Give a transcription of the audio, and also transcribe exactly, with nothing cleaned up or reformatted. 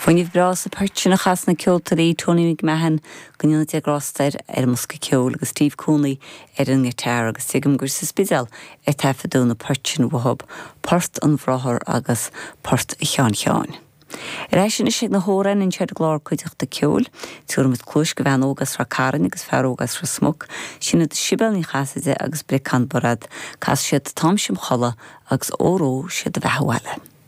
Fuinneamh breá sa bport sin a chas na ceoltóirí Tony McMahon go ndéana Dia grásta air ar an mbosca ceoil agus Steve Cooney ar an ngiotár agus tuigim gur sa Spidéal a taifeadadh na poirt sin uathub, Port an Bhráthar agus Port Sheáin Sheáin. Ar ais anois ag na hamhráin anseo ar an gclár Cuideachta Ceoil, tabharfaimid cluas do bhean óg as Ráth Cairn agus fear óg as Ros Muc, sin iad Sibéal Ní Chasaide agus Breacán Bairéad, casfaidh siad Táimse im Chodladh agus Óró Sé do Bheatha Abhaile.